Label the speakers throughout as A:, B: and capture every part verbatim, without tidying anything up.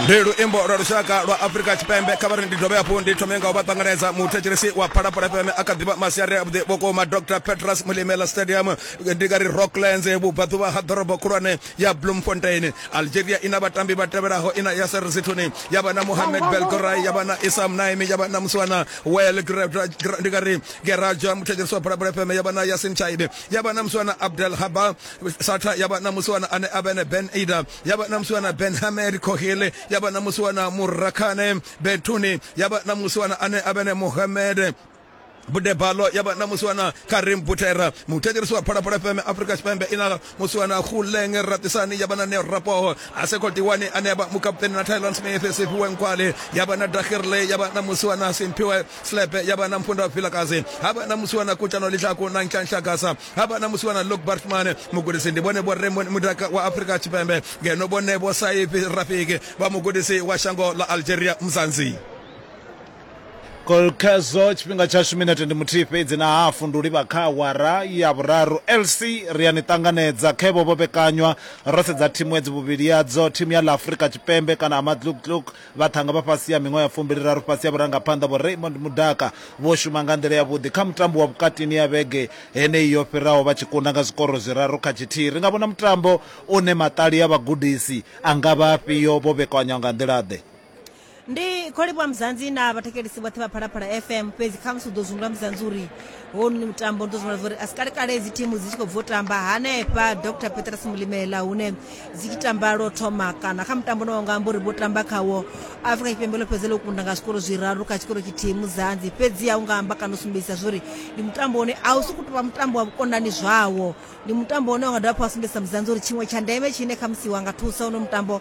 A: Ndi luimbo lwa lushaka lwa Afrika Tshipembe. Kha vha ri ndi dovhe hafhu ndi thome nga u vha ṱanganedza muthetshelesi wa Phalaphala F M a kha ḓivha masiari avhuḓi vhukuma. Doctor Petrus Mulimela Stadium, ndi nga ri Rocklands, vhubvaḓuvha ha ḓorobo khulwane ya Bloemfontein. Algeria ina vhatambi vha tevhelaho, ina Yasser Zitouni, ya vha na Mohamed Belgorai, ya vha na Isam Naimi, ya vha na Muswana Wel, ndi nga ri Geraja, muthetshelesi wa Phalaphala F M, ya vha na Yasin Chaibe, ya vha na Muswana Abdel Haba Sata, ya vha na Muswana ane a vha Ben Ida, ya vha na Muswana Ben Hamed Kohile, ya vha na Muswana Murakhane Betuni, ya vha na Muswana ane a vha Mohamed Budebalo, ya vha na Muswana Karim Butera. Muthetshelesi wa Phalaphala F M, Afrika Tshipembe ina Muswana Khuleng Ratisani, ya vha na Neo Rapoho Asekotiwani ane a vha mukapteni na Thailand Smith Siphiwe Nkwale, ya vha na Dakhirle, ya vha na Muswana Simphiwe Slepe, ya vha na Mfunda Vilakazi, ha vha na Muswana Kutano Litlako na Nhlanhla Gasa, ha vha na Muswana Luke Bartman. Mugudisi ndi vhone vho Raymond Mudaka wa Afrika Tshipembe, ngeno vhone vho Saif Rafiki vha mugudisi wa shango ḽa Algeria Mzansi.
B: Kolkezo tshifhinga tshashu minete ndi muthihi fhedzi na hafu ndi u livha kha awara ya vhuraru. L C ri a ni ṱanganedza khevho vho vhekanywa ro sedza thimu edzi vhuvhili yadzo, thimu ya ḽa Afrika Tshipembe kana Amatluktluk vhaṱhanga vha fhasi ya miṅwaha ya fumbili raru fhasi ya vhurangaphanḓa vho Raymond Mudaka vho shuma nga nḓila yavhuḓi kha mutambo wa vhukatini ya vhege heneyi yo fhiraho vha tshi kunda nga zwikoro zwiraru kha tshithihi. Ri nga vhona mutambo une maṱali ya vhagudisi a nga vha afhio vho vhekanywa nga nḓila ḓe?
C: Ndi khou livhuwa Mzansi na vhathetshelesi vhoṱhe vha Phalaphala F M. Fhedzi khamusi u ḓo zwi humbula Mzansi uri honu mutambo ndi ḓo zwi humbula uri a si kale kale dzi thimu dzi tshi khou bva u tamba hanefha Doctor Petrus Mulimela hune dzi tshi tamba lwo thoma kana kha mutambo no nga amba uri vho tamba khawo Afrika Tshipembe ḽo fhedza ḽo kunda nga zwikoro zwiraru kha tshikoro tshithihi Mzansi. Fhedzi a u nga amba kana u sumbedzisa zwori ndi mutambo une a u sokou tou vha mutambo wa vhukonani zwawo, ndi mutambo une wa nga dovha hafhu wa sumbedzisa Mzansi uri tshiṅwe tsha ndeme tshine khamusi wa nga thusa uno mutambo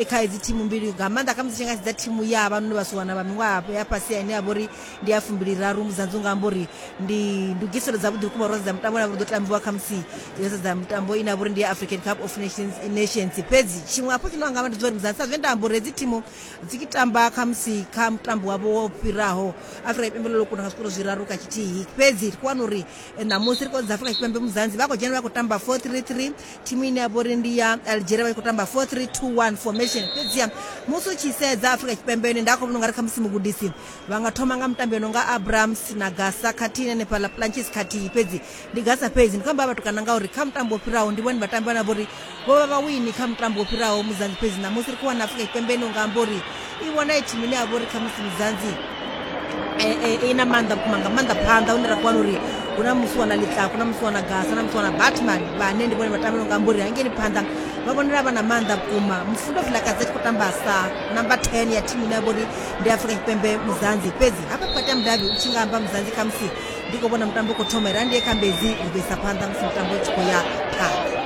C: kha idzi thimu mbili nga maanḓa khamusi tshi nga sedza thimu ya vhanoni vhasiwana vha miṅwaha ya fhasi ine ya vha uri ndi ya fumbili raru Mzansi, unga amba uri ndi ndugiselo dzavhuḓi vhukuma ro sedza mutambo une ḓo tambiwa khamusi yo sedza mutambo ine ya vha uri ndi ya African Cup of Nations Nations. Fhedzi tshiṅwe hafhu tshine wanga amba ndi zwa uri Mzansi sa zwe nda amba uri hedzi thimu dzi tshi tamba khamusi kha mutambo wavho wo fhiraho Afrika Tshipembe ḽo kunda nga zwikoro zwiraru kha tshithihi. Fhedzi ri khou wana uri ṋamusi ri khou dza Afrika Tshipembe Mzansi vha khou dzhena vha khou tamba four three three, thimu ine ya vha uri ndi ya Algeria vha khou tamba four three two one formation. Fhedziha musi u tshi sedza Afrika Tshipembe nda khou vhona ungari khamusi mugudisi vha nga thoma nga mutambi no nga Abrams na Gasa khathihi hanefhaḽa Planches khathihi, fhedzi ndi Gasa fhedzi. Ndi khou amba vhatukana ngauri kha mutambo wo fhiraho ndi vhone vhatambi vhane vha uri vho vha vha wini kha mutambo wo fhiraho Mzansi. Fhedzi ṋamusi ri khou wana Afrika Tshipembe ine unga amba uri i vhona i thimu ine ya vha uri khamusi Mzansi i na maanḓa vhukuma nga maanḓa phanḓa hune ra khou wana uri hu na Muswana Litlako na Muswana Gasa na Muswana Batman vhane ndi vhone vhatambi no nga amba uri hangeini phanḓa vha vhonala vha na maanḓa vhukuma. Mfundo Vilakazi a tshi khou tamba sa number ten ya thimu ine ya vha uri ndi Afrika Tshipembe Mzansi. Fhedzi hafha vhukati ha mudavhi u tshi nga amba Mzansi khamusi ndi khou vhona mutambo u khou thoma ira ndi ye kha Mbedzi ri ḓo isa phanḓa musi mutambo u tshi khou ya phanḓa.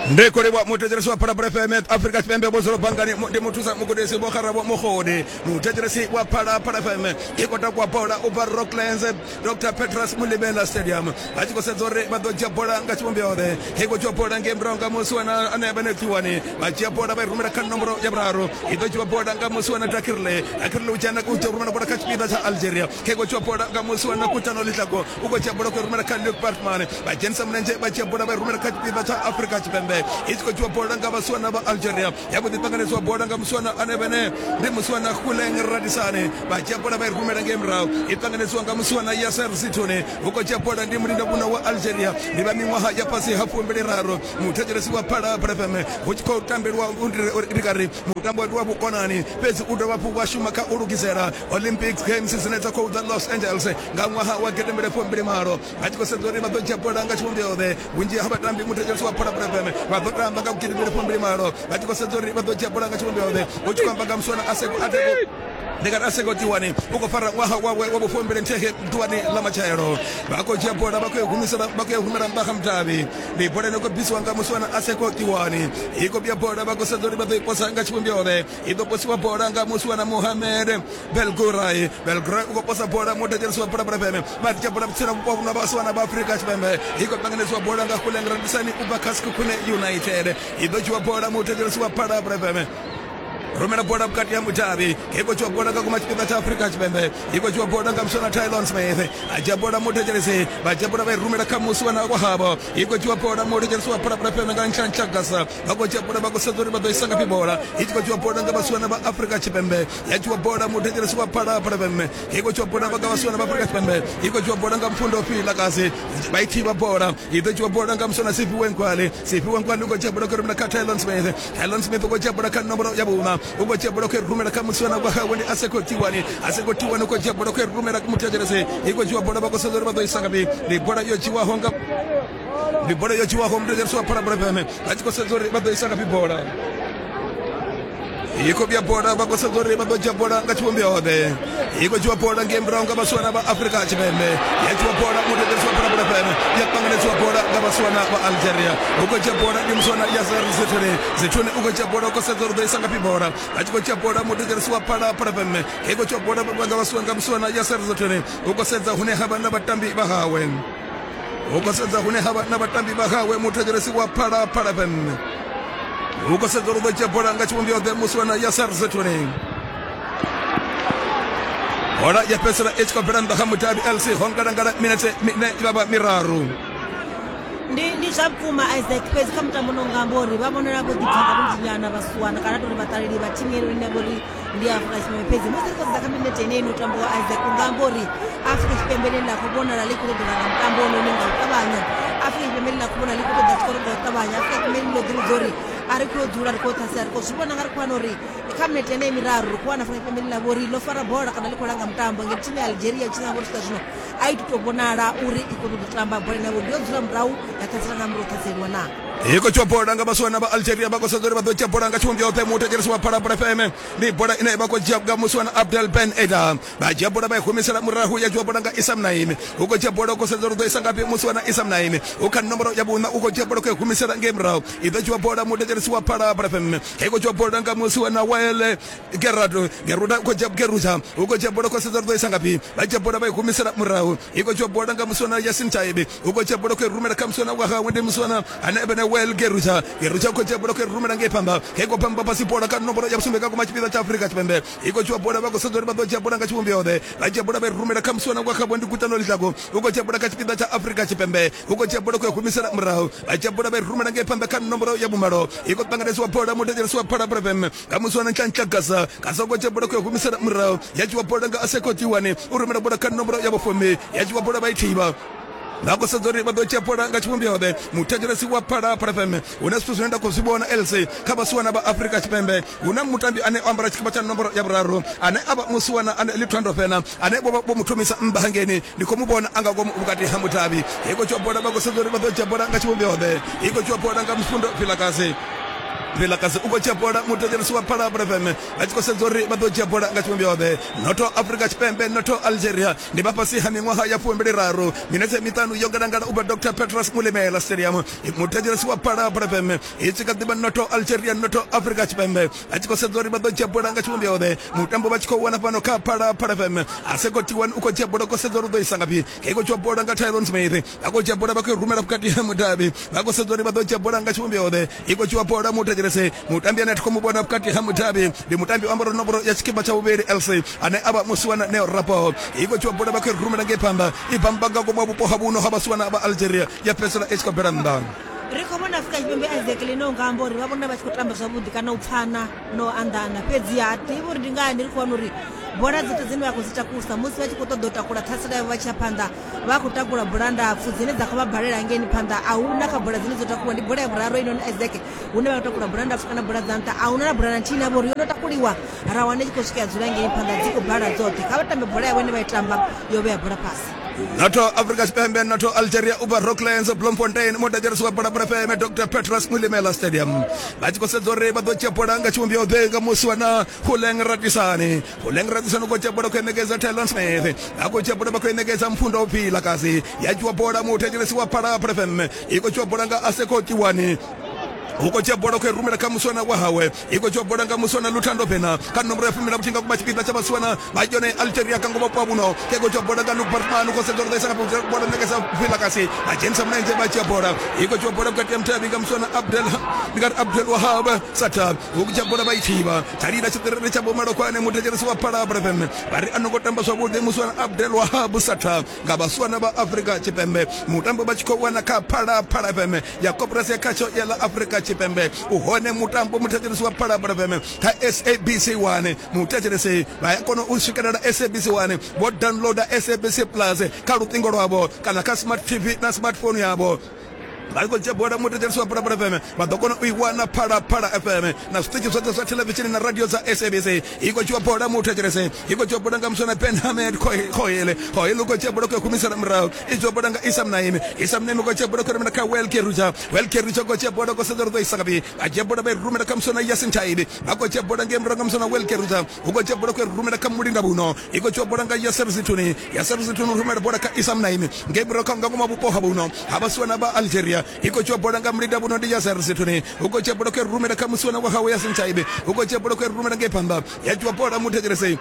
A: Ndi khou livhuwa muthetshelesi wa Phalaphala F M. Afrika Tshipembe vho dzula bangani ndi muthusa mugudisi vho Kharabo Mogodi. Muthetshelesi wa Phalaphala F M i khou takuwa bola u bva Rocklands Doctor Petrus Mulimela Stadium. Vha tshi khou sedza uri vha ḓo dzhia bola nga tshivhumbeo ḓe. I khou dzhia bola ngei murahu nga Muswana ane a vha Nethiwani. Vha dzhia bola vha i rumela kha nomboro ya vhuraru. I ḓo dzhiwa bola nga Muswana Dakirle. Dakirle u dzhena u rumela bola kha tshipiḓa tsha Algeria. I khou dzhiwa bola nga Muswana Kutano Litlako. U khou dzhia bola u rumela kha Luke Bartman. Vha dzhenisa mulenzhe vha dzhia bola vha i rumela kha tshipiḓa tsha Afrika Tshipembe. I tshi khou dzhiwa bola nga vhasiwana vha Algeria. Ya vho ḓi ṱanganedzwa bola nga Muswana ane vhene ndi Muswana Khuleng Radisane. Vha dzhia bola vha i rumela ngei murahu. I ṱanganedzwa nga Muswana Yasser Zitouni. U khou dzhia bola ndi mulinda vhuna wa Algeria. Ndi vha miṅwaha ya fhasi ha fumbili raru. Muthetshelesi wa Phalaphala F M hu tshi khou tambelwa ndi nga ri mutambo wa vhukonani, fhedzi u dovha hafhu wa shuma kha u lugisela Olympic Games dzine dza khou ḓa Los Angeles nga ṅwaha wa gidi mbili fumbili malo. Vha tshi khou sedza uri vha ḓo dzhia bola nga tshivhumbeo ḓe. Vhunzhi ha vhatambi muthetshelesi wa Phalaphala F M vha ḓo tamba nga gidi mbili fumbili malo. Vha tshi khou sedza uri vha ḓo dzhia bola nga tshivhumbeo ḓe. Hu tshi khou amba nga Muswana Aseko Ateko ndi nga ri Aseko Tiwani u khou fara ṅwaha wawe wa vhufumbili nthihi ḓuvhani ḽa matshelo. Vha khou dzhia bola vha khou humisela vha khou humela nnḓa ha mudavhi. Ndi bola ine khou bvisiwa nga Muswana Aseko Tiwani. I khou vhuya bola vha khou sedza uri vha ḓo i posa nga tshivhumbeo ḓe. I ḓo posiwa bola nga Muswana Mohamed Belgurai. Belgurai u khou posa bola muthetshelesi wa Phalaphala F M. Vha dzhia bola vhutsila vhupo na vhasiwana vha Afrika Tshipembe. I khou ṱanganedzwa bola nga Khuleng Radisani u bva kha Sekhukhune United. I ḓo dzhiwa bola muthetshelesi wa Phalaphala F M. Rumela bola vhukati ha mudavhi. I khou dzhiwa bola nga kuma tshipiḓa tsha Afrika Tshipembe. I khou dzhiwa bola nga muswana Tylon Smith. A dzhia bola muthetshelesi. Vha dzhia bola vha i rumela kha musiwana wa havho. I khou dzhiwa bola muthetshelesi wa Phalaphala F M nga Nhlanhla Gasa. Vha khou dzhia bola vha khou sedza uri vha ḓo isa ngafhi bola. I tshi khou dzhiwa bola nga vhasiwana vha Afrika Tshipembe. Ya dzhiwa bola muthetshelesi wa Phalaphala F M. I khou dzhiwa bola nga vhasiwana vha Afrika Tshipembe. I khou dzhiwa bola nga Mfundo Vilakazi. Vha i thivha bola. I ḓo dzhiwa bola nga muswana Siphiwe Nkwali. Siphiwe Nkwali u khou dzhia bola khou rumela kha Tylon Smith. Tylon Smith u khou dzhia bola kha nomboro ya vhuṋa. U khou dzhia bola khou rumela kha musiwana wa hawe ndi Aseko Tiwani. Aseko Tiwani u khou dzhia bola khou rumela muthetshelesi. I khou dzhiwa bola vha khou sedza uri vha ḓo isa ngafhi. Ndi bola yo dzhiwaho nga ndi bola yo dzhiwaho muthetshelesi wa Phalaphala F M. Vha tshi khou sedza uri vha ḓo isa ngafhi bola. I khou vhuya bola vha khou sedza uri vha ḓo dzhia bola nga tshivhumbeo-ḓe. I khou dzhiwa bola ngei murahu nga vhasiwana vha Afrika Tshipembe. Ya dzhiwa bola muthetshelesi wa Phalaphala F M. Ya ṱanganedziwa bola nga vhasiwana vha Algeria. U khou dzhia bola ndi musiwana Yasser Zithuni. Zithuni u khou dzhia bola u khou sedza uri ḓo isa ngafhi bola. Vha tshi khou dzhia bola muthetshelesi wa Phalaphala F M. I khou dzhiwa bola nga vhasiwana nga musiwana Yasser Zithuni. U khou sedza hune ha vha na vhatambi vha hawe. U khou sedza hune ha vha na vhatambi vha hawe muthetshelesi wa Phalaphala F M. U khou sedza uri ḓo dzhia bola nga tshivhumbeo-ḓe musiwana Yasser Zithuni. Bola ya fhedzisela i tshi khou bvela nnḓa kha mudavhi L C ho ngalangala minete mine vha vha miraru.
C: Ndi ndi zwa vhukuma Isaac, fhedzi kha mutambo no nga amba uri vha vhonala vho ḓipfa nga vhunzhi nyana vhasiwana kana tori vhaṱaleli vha thimu ino ine vhori ndi Afrika Tshipembe. Fhedzi musi ri khou sedza kha minete ine ino tambiwa Isaac, u nga amba uri Afrika Tshipembe ḽine ḽa khou vhonala ḽi khou ṱoḓa nga mutambo ononi nga u ṱavhanya. Afrika Tshipembe ḽine ḽa khou vhonala ḽi khou ṱoḓa tshikoro nga u ṱavhanya. Afrika Tshipembe ḽo ḓivhudza uri a ri khou dzula ri khou ṱhasela, ri khou zwi vhona nga ri khou wana uri kha minete ene miraru ri khou wana Afrika Tshipembe ḽine ḽa vha uri ḽo fara bola kana ḽi khou langa mutambo, ngeno thimu ya Algeria tshi nga vha uri swika zwino a i tou vhonala uri i khou ṱoḓa u tamba bola ine ya vha uri yo dzula murahu ya ṱhasela nga murahu ṱhaseliwa na.
A: I khou dzhiwa bola nga vhasiwana vha Algeria vha khou sedza uri vha ḓo dzhia bola nga tshivhumbeo-ḓe muthetshelesi wa Phalaphala F M. Ndi bola ine vha khou dzhia nga musiwana Abdel Ben Eda. Vha dzhia bola vha i humisela murahu ya dzhiwa bola nga Issam Naimi. U khou dzhia bola u khou sedza uri ḓo isa ngafhi musiwana Issam Naimi. U kha nomboro ya vhuṋa u khou dzhia bola khou i humisela ngei murahu. I ḓo dzhiwa bola muthetshelesi wa Phalaphala F M. I khou dzhiwa bola nga musiwana Wael Gerardo. Geruda u khou dzhia Geruja. U khou dzhia bola khou sedza uri ḓo isa ngafhi. Vha dzhia bola vha i humisela murahu. I khou dzhiwa bola nga musiwana Yasin Taibi. U khou dzhia bola khou i rumela kha musiwana wa hawe ndi musiwana ane vhe Well Geruja. Geruja u khou dzhia bola khou i rumela ngei phanḓa. I khou pamba fhasi bola kha nomboro ya vhusumbe nga kuma tshipiḓa tsha Afrika Tshipembe. I khou dzhiwa bola vha khou sedza uri vha ḓo dzhia bola nga tshivhumbeo-ḓe. Vha dzhia bola vha i rumela kha musiwana wa khavho ndi Kutano Litlako. U khou dzhia bola kha tshipiḓa tsha Afrika Tshipembe. U khou dzhia bola khou i humisela murahu. Vha dzhia bola vha i rumela ngei phanḓa kha nomboro ya vhumalo. I khou ṱanganedziwa bola muthetshelesi wa Phalaphala F M nga musiwana Nhlanhla Gasa. Gasa u khou dzhia bola khou i humisela murahu. Ya dzhiwa bola nga Aseko Tiwani. U rumela bola kha nomboro ya vhufumi. Ya dzhiwa bola vha i thivha. Vha khou sedza uri vha ḓo dzhia bola nga tshivhumbeo-ḓe muthetshelesi wa Phalaphala F M. Hu na zwithu zwine nda khou zwi vhona L C kha vhasiwana vha Afrika Tshipembe. Hu na mutambi ane o ambara tshikipa tsha nomboro ya vhuraru ane a vha musiwana ane Lithando Fena ane vho vho mu thomisa nnḓa hangeni. Ndi khou mu vhona a nga ngomu vhukati ha mudavhi. I khou dzhiwa bola vha khou sedza uri vha ḓo dzhia bola nga tshivhumbeo-ḓe. I khou dzhiwa bola nga Mfundo Vilakazi. Vilakazi u khou dzhia bola muthetshelesi wa Phalaphala F M. Vha tshi khou sedza uri vha ḓo dzhia bola nga tshivhumbeo-ḓe. Noto Afrika Tshipembe noto Algeria ndi vha fhasi ha miṅwaha ya fumbili raru. Minete miṱanu yo ngalangala u bva Doctor Petrus Mulimela Stadium. Muthetshelesi wa Phalaphala F M i tshi kha ḓivha noto Algeria noto Afrika Tshipembe. Vha tshi khou sedza uri vha ḓo dzhia bola nga tshivhumbeo-ḓe. Mutambo vha tshi khou wana fhano kha Phalaphala F M. Aseko Tiwani u khou dzhia bola khou sedza uri u ḓo isa ngafhi. I khou dzhia bola nga Tyron Smith. Vha khou dzhia bola vha khou rumela vhukati ha mudavhi. Vha khou sedza uri vha ḓo dzhia bola nga tshivhumbeo-ḓe. I khou dzhiwa bola muthetshelesi. Mutambi ane a thi khou mu vhona vhukati ha mudavhi ndi mutambi o ambara nomboro ya tshikipa tsha vhuvhili L C ane a vha musiwana Neo Rapo. I khou dzhiwa bola vha khou i rumela ngei phanḓa. I bamba nga ngomu vhupo ha vhuno ha vhasiwana vha Algeria ya fhedzisela i tshi khou bvela nnḓa.
C: Ri khou vhona Afrika Tshipembe Isaac ḽine u nga amba uri vha vhona vha tshi khou tamba zwavhuḓi kana u pfana no anḓana, fhedzi ha ḓivhi uri ndi ngani ri khou wana uri bola dzoṱhe dzine vha khou dzi takusa musi vha tshi khou ṱoḓa u takula ṱhasela yavho vha tshi ya phanḓa vha khou takula bola ndapfu dzine dza khou vha balela hangeini phanḓa. A hu na kha bola dzine dzo takuwa, ndi bola ya vhuraru inoni Isaac hune vha khou takula bola ndapfu kana bola dza nṱha. A hu na na bola na nthihi ine ya vha uri yo no takuliwa ra wana i tshi khou swika ya dzula hangeini phanḓa, dzi khou bala dzoṱhe. Kha vha tambe bola yavho ine vha i tamba yo vhea bola fhasi.
A: Noto Afrika Tshipembe noto Algeria u bva Rocklands Bloemfontein muthetshelesi wa Phalaphala F M Doctor Petrus Mulimela Stadium. Vha tshi khou sedza uri vha ḓo dzhia bola nga tshivhumbeo-ḓe nga musiwana Huleng Ratisani. Huleng Ratisani u khou dzhia bola khou ṋekedza Tylon Smith. Vha khou dzhia bola vha khou ṋekedza Mfundo Vilakazi. Ya dzhiwa bola muthetshelesi wa Phalaphala F M. I khou dzhiwa bola nga Aseko Tiwani. U khou dzhia bola khou i rumela kha muswana wa hawe, i khou dzhia bola nga muswana Luthando Vena kha nomboro ya fumi na vhuthihi nga kuma tshipiḓa tsha vhasiwana vha yone Algeria ka ngoma vhupo vhuno. Ke khou dzhia bola nga Luke Bartman, u khou sedza uri ḓo isa nga bola ṋekedza Vilakasi, a dzhenisa mulenzhe vha dzhia bola. I khou dzhia bola vhukati ha mutavhi nga muswana Abdel, ndi nga ri Abdel Wahab Sata, u khou dzhia bola vha i thivha tshalila tshiṱiriri tsha Vhomalokwane. Muthetshelesi wa Phalaphala F M vha ri a no ngo tamba zwavhuḓi muswana Abdel Wahab Sata nga vhasiwana vha Afrika Tshipembe. Mutambo vha tshi khou wana kha Phalaphala F M ya koporasi ya khatsho ya ḽa Afrika Tshipembe. U hone mutambo muthetshelesi wa Phalaphala F M kha S A B C one. Muthetshelesi vha ya kona u swikelela S A B C one vho downloada S A B C Plus kha luṱingo lwavho kana kha smart T V na smartphone yavho. Vha khou dzhia bola muthetshelesi wa Phalaphala F M vha ḓo kona u i wana Phalaphala F M na zwiṱitshi zwoṱhe zwa thelevishini na radio dza S A B C. I khou dzhiwa bola muthetshelesi, i khou dzhiwa bola nga muswana Ben Hamed Khohele. Khohele u khou dzhia bola khou humisela murahu, i dzhiwa bola nga Isam Naimi. Isam Naimi u khou dzhia bola khou rumela kha Welke Ruja. Welke Ruja u khou dzhia bola khou sedza uri ḓo isa ngafhi, a dzhia bola vha i rumela kha muswana Yasin Taibi. Vha khou dzhia bola ngei murahu nga muswana Welke Ruja, u khou dzhia bola khou rumela kha Mulinda Vhuno. I khou dzhiwa bola nga Yasser Zituni. Yasser Zituni u rumela bola kha Isam Naimi ngei murahu kha nga ngoma vhupo ha vhuno ha vhasiwana vha Algeria. I khou dzhia bola nga Mulinda Vhuno ndi Yasser Zituni, u khou dzhia bola khou rumela kha musiwana wa hawe Yasin Taibi. U khou dzhia bola khou rumela ngei phanḓa, ya dzhiwa bola muthetshelesi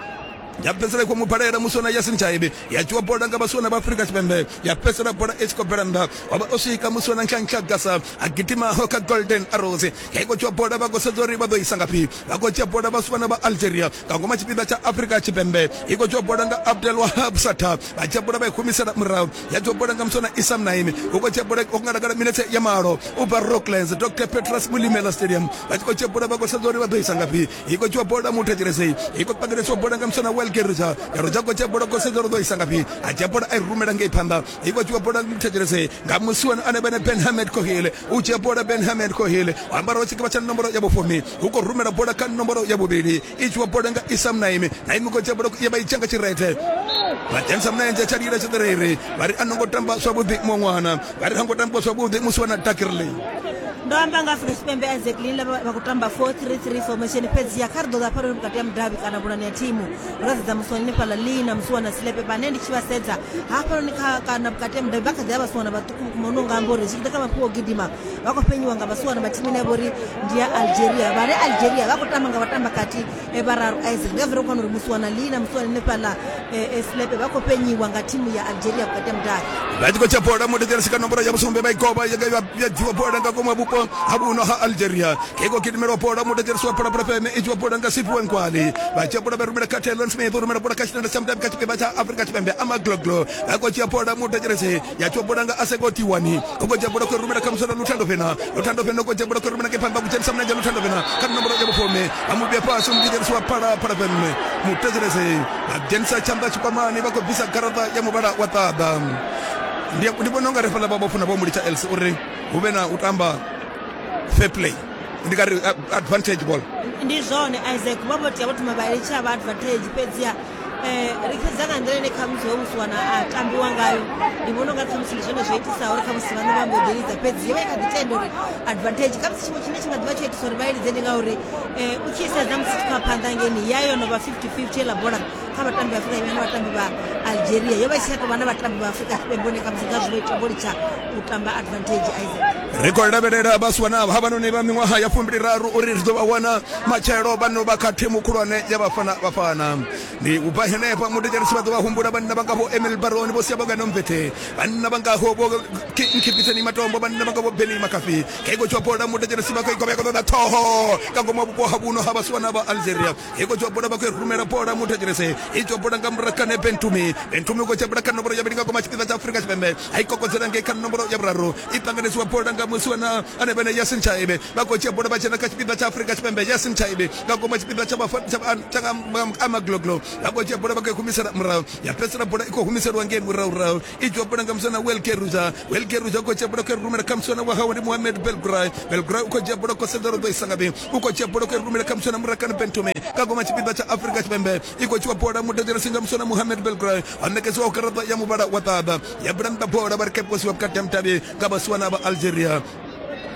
A: ya fhedzisela i khou mu balela muswana Yasin Taibi. Ya dzhiwa bola nga vhasiwana vha Afrika Tshipembe, ya fhedzisela bola i tshi khou bvela nnḓa. Wa vha o swika muswana Nhlanhla Gasa a gidimaho kha Golden Arrows. Ya khou dzhiwa bola vha khou sedza uri vha ḓo isa ngafhi. Vha khou dzhia bola vhasiwana vha Algeria nga ngoma tshipiḓa tsha Afrika Tshipembe. I khou dzhiwa bola nga Abdel Wahab Sata, vha dzhia bola vha i humisela murahu. Ya dzhiwa bola nga muswana Isam Naimi, u khou dzhia bola o ngalangala minetse ya malo u bva Rocklands Doctor Petrus Mulimela Stadium. Vha tshi khou dzhia bola vha khou sedza uri vha ḓo isa ngafhi. I khou dzhiwa bola muthetshelesi, i khou pangelesiwa bola nga muswana Welke Ruja. Ya Ruja khou dzhia bola khou sedza uri ḓo isa ngafhi, a dzhia bola a i rumela ngei phanḓa. I khou dzhiwa bola muthetshelesi nga musiwana ane vhene Ben Hamed Kohele. U dzhia bola Ben Hamed Kohele o ambaraho tshikipa tsha nomboro ya vhufumi, u khou rumela bola kha nomboro ya vhuvhili. I dzhiwa bola nga Isam Naimi. Naimi khou dzhia bola ya vha i dzhia nga tshirethe, vha dzhenisa mulenzhe tshalila tshiṱiriri. Vha ri a no ngo tamba zwavhuḓi muṅwe ṅwana, vha ri ha ngo tamba zwavhuḓi musiwana Dakirli.
C: Ndo amba nga Afrika Tshipembe Isaac Linla vha khou tamba four three three formation, fhedzi ya kha ri ḓo ḓa hafhanoni vhukati ha mudavhi kana vhulani ya thimu ra sedza musiwana hanefhaḽa Lina musiwana Silepe vhane ndi tshi vha sedza hafhanoni kha kana vhukati ha mudavhi vha kha ḓi vha vhasiwana vhaṱuku vhukuma. Hune unga amba uri zwi tshi ḓa kha mafhungo o gidima vha khou fhenyiwa nga vhasiwana vha thimu ine ya vha uri ndi ya Algeria. Vhane Algeria vha khou tamba nga vhatamba kati vhararu Isaac, nga vhero khou wana uri musiwana Lina musiwana hanefhaḽa Silepe vha khou fhenyiwa nga thimu ya Algeria vhukati ha mudavhi.
A: Vha tshi khou dzhia bola muthetshelesi kha nomboro ya vhusumbe vha i goba ya dzhiwa bola nga ngomu vhupo ha vhuno ha Algeria. Ke khou gidimelwa bola muthetshelesi wa Phalaphala F M, i dzhiwa bola nga Siphiwe Nkwali. Vha dzhia bola vha rumela kha Taylor Smith, u rumela bola kha tshitanda tsha mudavhi kha tshipiḓa tsha Afrika Tshipembe Amagloglo. Vha khou dzhia bola muthetshelesi, ya dzhiwa bola nga Aseko Tiwani. U khou dzhia bola khou rumela kha muswana Luthando Vena. Luthando Vena u khou dzhia bola khou rumela ngei phanḓa, ku dzhenisa mulenzhe Luthando Vena kha nomboro ya vhufumi. Vha mu vhea fhasi muthetshelesi wa Phalaphala F M. Muthetshelesi vha dzhenisa tshanḓa tshikwamani, vha khou bvisa garaṱa ya muvhala wa ṱaḓa. Ndi ndi vhona unga ri fhaḽa vha vho funa vho mulitsha Els uri hu vhe na u tamba fair play, ndi nga ri advantage ball.
C: Ndi zwone Isaac, vha vho tea vho thoma vha litsha vha advantage, fhedziha ri sedza nga nḓila ine khamusi hoyo musiwana a tambiwa ngayo, ndi vhona unga khamusi ndi zwone zwo itisaho uri khamusi vhaṋe vha mbo ḓi lidza, fhedzi yo vha i kha ḓi tenda uri advantage. Khamusi tshiṅwe tshine tshi nga ḓivha tsho itisa uri vha i lidze ndi ngauri u tshi sedza musi tshi khou phanḓa ngeni ya yo no vha fifty fifty heiḽa bola kha vhatambi vha Afrika Tshipembe na vhatambi vha Algeria, yo vha i tshi tsha tou vha na vhatambi vha Afrika Tshipembe hone khamusi ngazwo vho ita vho litsha u tamba advantage Isaac.
A: Ri khou lavhelela vhasiwana havhanoni vha miṅwaha ya fumbiliraru uri ri ḓo vha wana matshelo vha no vha kha thimu khulwane ya Bafana Bafana. Ndi u bva henefha muthetshelesi vha ḓo vha humbula vhanna vha ngaho Emil Baroni, vho Siyabonga Nomvethe, vhanna vha ngaho vho Nkhipitseni Matombo, vhanna vha ngaho Benny Makafi. Ke khou dzhiwa bola muthetshelesi vha khou i govha ya khou ṱoḓa ṱhoho nga ngomu vhupo ha vhuno ha vhasiwana vha Algeria. I khou dzhiwa bola vha khou i rumela bola muthetshelesi, i dzhiwa bola nga Murakane Bentumi. Bentumi u khou dzhia bola kha nomboro ya vhuvhili nga ngoma tshipiḓa tsha Afrika Tshipembe, a i kokodzela ngei kha nomboro ya vhuraru. I ṱanganisiwa bola nga musiwana ane vhene Yasin Chaibe. Vha khou dzhia bola vha dzhena kha tshipiḓa tsha Afrika Tshipembe, Yasin Chaibe nga ngoma tshipiḓa tsha tsha Amagloglo. Vha khou dzhia bola vha khou i humisela murahu, ya fhedzisela bola i khou humiselwa ngei murahu. I dzhiwa bola nga muswana Welke Ruja. Welke Ruja u khou dzhia bola khou i rumela kha muswana wa hawe ndi Mohamed Belgray. Belgray u khou dzhia bola khou sedza uri ḓo isa ngafhi. U khou dzhia bola khou i rumela kha muswana Murakane Bentumi nga ngoma tshipiḓa tsha Afrika Tshipembe. I khou dzhiwa bola muthetshelesi nga muswana Mohamed Belgray, wa ṋekedziwa garaṱa ya muvhala wa ṱaḓa. Ya bula nnḓa bola vha ri keposiwa vhukati ha mudavhi nga vhasiwana vha Algeria.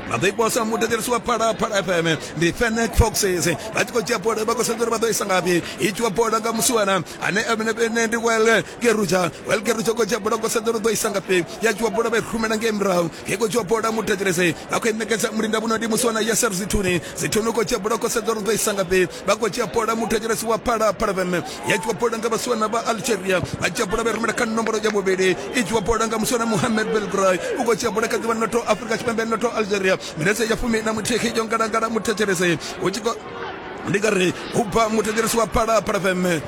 A: Vha ḓo i posa muthetshelesi wa Phalaphala F M ndi Fennec Foxes vha tshi khou dzhia bola vha khou sedza uri vha ḓo isa ngafhi. I dzhiwa bola nga musiwana ane ene ndi Well Geruja. Well Geruja khou dzhia bola khou sedza uri ḓo isa ngafhi. Ya dzhiwa bola vha i rumela ngei murahu. He khou dzhiwa bola muthetshelesi vha khou i ṋekedza mulinda vhuno ndi musiwana Yasser Zithuni. Zithuni khou dzhia bola khou sedza uri ḓo isa ngafhi. Vha khou dzhia bola muthetshelesi wa Phalaphala F M. Ya dzhiwa bola nga vhasiwana vha Algeria. Vha dzhia bola vha rumela kha nomboro ya vhuvhili. I dzhiwa bola nga musiwana Mohamed Belgray. U khou dzhia bola kha ḓivha noto Afrika Tshipembe noto Algeria. Minetse ya fumi na muthihi yo ngalangala muthetshelesi u tshi khou ndi nga ri u bva muthetshelesi wa Phalaphala F M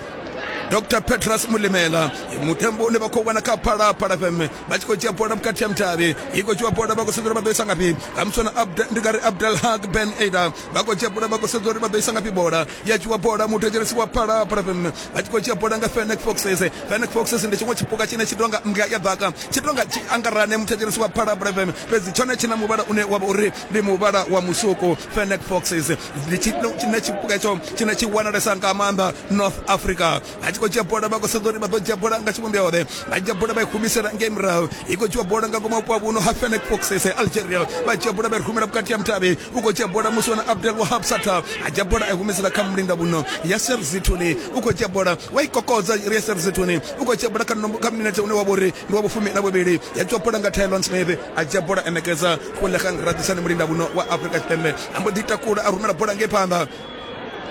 A: Doctor Petrus Mulimela mutambo une vha khou wana kha Phalaphala F M vha tshi khou dzhia bola vhukati ha mutavhi. I khou dzhiwa bola vha khou sedza uri vha ḓo isa ngafhi. Nga muswana ndi nga ri Abdelhak Ben Aida vha khou dzhia bola vha khou sedza uri vha ḓo isa ngafhi bola. Ya dzhiwa bola muthetshelesi wa Phalaphala F M vha tshi khou dzhia bola nga Fennec Foxes. Fennec Foxes ndi tshiṅwe tshipuka tshine tshi tonga mbwa ya ḓaka, tshi tonga tshi angarane muthetshelesi wa Phalaphala F M, fhedzi tshone tshi na muvhala une wa vha uri ndi muvhala wa musuku. Fennec Foxes ndi tshine tshipuka itsho tshine tshi wanalesa nga maanḓa North Africa. Vha tshi khou dzhia bola vha khou sedza uri vha ḓo dzhia bola nga tshivhumbeo ḓe. Vha dzhia bola vha i humisela ngei murahu. I khou dzhiwa bola nga ngomu vhupo vhuno ha Fennec Foxes Algeria. Vha dzhia bola vha i rumela vhukati ha mutavhi. U khou dzhia bola musiwana Abdel Wahab Sata. A dzhia bola a i humisela kha mulinda vhuno Yasser Zithuni. U khou dzhia bola wa i kokodza Yasser Zithuni. U khou dzhia bola kha kha minetse une wa vha uri ndi wa vhufumi na vhuvhili. Ya dzhiwa bola nga Tylon Smith. A dzhia bola a ṋekedza Khulegang Radisani mulinda vhuno wa Afrika Tshipembe. A mbo ḓi takula a rumela bola ngei phanḓa.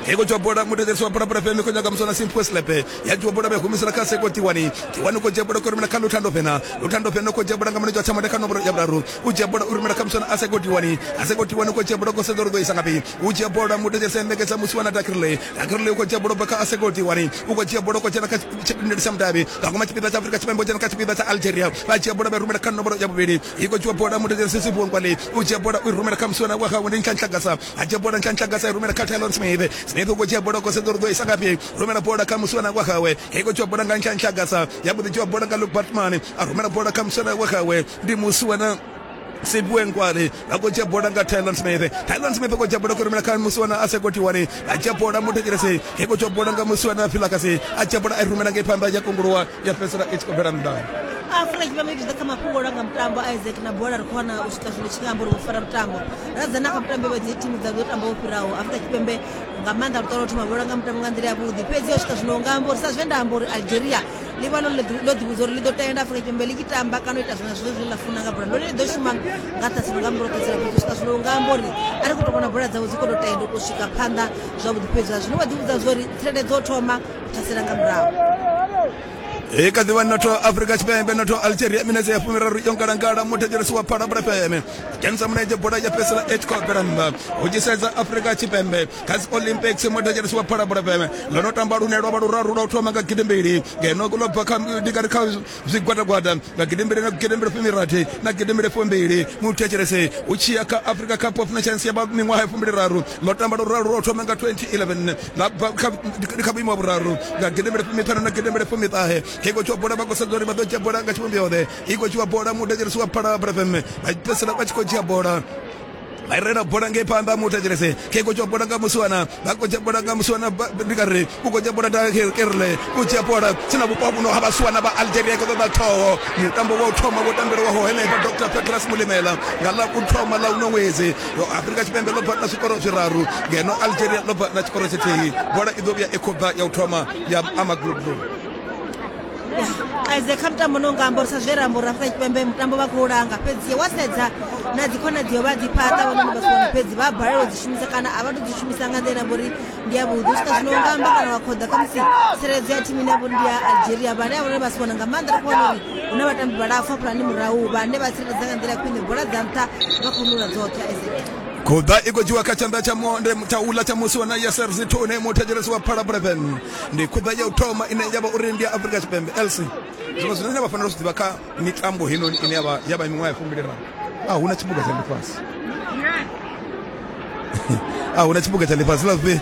A: Ego dzhiwa bola muthetshelesi wa Phalaphala F M khou nyaga muswana Simphiwe Slepe. Ya dzhiwa bola vha humisela kha Seko Tiwani. Tiwani khou dzhia bola khou rumela kha Luthando Fena. Luthando Fena khou dzhia bola nga mulenzhe wa tshamonde kha nomboro ya vhuraru. U dzhia bola u rumela kha muswana Aseko Tiwani. Aseko Tiwani khou dzhia bola khou sedza uri ḓo isa ngafhi. U dzhia bola muthetshelesi a ṋekedza musiwana Dakirle. Dakirle u khou dzhia bola bva kha Aseko Tiwani. U khou dzhia bola khou dzhena kha tshipindeli tsha mudavhi. Nga ngoma tshipiḓa tsha Afrika Tshipembe dzhena kha tshipiḓa tsha Algeria. Vha dzhia bola vha rumela kha nomboro ya vhuvhili. I khou dzhiwa bola muthetshelesi Simphiwe Nkwale. U dzhia bola u rumela kha musiwana wa hawe ndi Nhlanhla. A dzhia bola Nhlanhla i rumela kha Tylon Smith. Smith u khou dzhia bola khou sedza uri ḓo isa ngafhi. Rumela bola kha musiwana wa hawe. I khou dzhiwa bola nga Nhlanhla. Ya mbo ḓi dzhiwa bola nga Luke Batman. A rumela bola kha musiwana wa hawe ndi musiwana Simphiwe Nkwale. Vha khou dzhia bola nga Tylon Smith. Tylon Smith u khou dzhia bola khou rumela kha musiwana Aseko Tiwani. A dzhia bola muthetshelesi. I khou dzhiwa bola nga musiwana Philakasi. A dzhia bola a i rumela ngei phanḓa ya kunguluwa ya fhedzisela i tshi khou bvela nnḓa.
C: Afrika Tshipembe i tshi ḓa kha mafhungo langa mutambo Isaac na bola ri khou wana u swika zwino tshi nga amba uri vho fara mutambo. Ra dzhena kha mutambo wa dzi thimu dza ḓo tamba wo fhiraho. Afrika Tshipembe nga maanḓa luṱo lwo thoma vho langa mutambo nga nḓila yavhuḓi, fhedzi yo swika zwino nga amba uri sa zwe nda amba uri Algeria ḽi vha ḽo ḓivhudza uri ḽi ḓo tenda Afrika Tshipembe ḽi tshi tamba kana u ita zwiṅwe zwithu zwine ḽa funa nga bola, ḽone ḽi ḓo shuma nga ṱhaselo nga murahu ṱhaselo. Fhedzi u swika zwino nga amba uri a ri khou tou vhona bola dzavho dzi khou tou tenda u swika phanḓa zwavhuḓi, fhedzi zwino vha ḓivhudza zwa uri tsireledzo thoma u ṱhasela nga murahu.
A: I kha ḓivha noto Afrika Tshipembe noto Algeria minetse ya fumiraru yo ngalangala muthetshelesi wa Phalaphala F M. Dzhenisa mulenzhe bola ya fhedzisela i tshi khou bvela nnḓa. Hu tshi sedza Afrika Tshipembe kha dzi Olympics muthetshelesi wa Phalaphala F M ḽo no tamba lune lwa vha luraru lwa u thoma nga gidimbili ngeno ḽo bva kha ndi nga ri kha zwigwadagwada nga gidimbili na gidimbili fumirathi na gidimbili fumbili. Muthetshelesi hu tshi ya kha Africa Cup of Nations ya miṅwaha ya fumbili raru ḽo tamba luraru lwa u thoma nga twenty eleven ḽa bva kha vhuimo ha vhuraru nga gidimbili fumiṱhanu na gidimbili fumiṱahe. I khou dzhiwa bola vha khou sedza uri vha ḓo dzhia bola nga tshivhumbeo ḓe. I khou dzhiwa bola muthetshelesi wa Phalaphala F M vha fhedzisela vha tshi khou dzhia bola vha i rela bola ngei phanḓa muthetshelesi. Khe khou dzhiwa bola nga musiwana vha khou dzhia bola nga musiwana ndi nga ri u khou dzhia bola Kerle u dzhia bola tsina vhupo vhuno ha vhasiwana vha Algeria khou ṱoḓa ṱhoho. Mutambo wa u thoma wo tambelwaho henefha Doctor Petrus Mulimela nga ḽa u thoma ḽa uno ṅwedzi. Afrika Tshipembe ḽo bva na zwikoro zwiraru ngeno Algeria ḽo bva na tshikoro tshithihi. Bola i ḓo vhuya i khou bva ya u thoma ya Amagloblu.
C: Isaac kha mutambo no nga amba uri sa zwe ra amba uri Afrika Tshipembe mutambo vha khou langa, fhedzi wa sedza na dzi khonadzeo vha dzi fhaṱa vhone vha si fhedzi vha balelwa u dzi shumisa kana a vha to dzi shumisa nga nḓila uri ndi ya vhuḓi. U swika zwino nga amba kana wa khoḓa khamusi tsireledzo ya thimu ine ya vha uri ndi ya Algeria vhane a vhone vha si vhona nga maanḓa ri khou wana uri hu na vhatambi vhalapfu hafhaḽani murahu vhane vha tsireledza nga nḓila ya khwine bola dza nṱha vha khou nula dzoṱhe. Isaac
A: Khuḓa i khou dzhiwa kha tshanḓa tsha monde tsha uḽa tsha musiwana Yasser Zithuni muthetshelesi wa Phalaphala F M. Ndi khuḓa ya u thoma ine ya vha uri ndi ya Afrika Tshipembe. L C zwiṅwe zwine vha fanela u zwi ḓivha kha mitambo heinoni ine ya vha ya vha miṅwaha ya fumbili raru, a huna tshipuga tsha ḽifhasi. A huna tshipuga tsha ḽifhasi ḽa zwi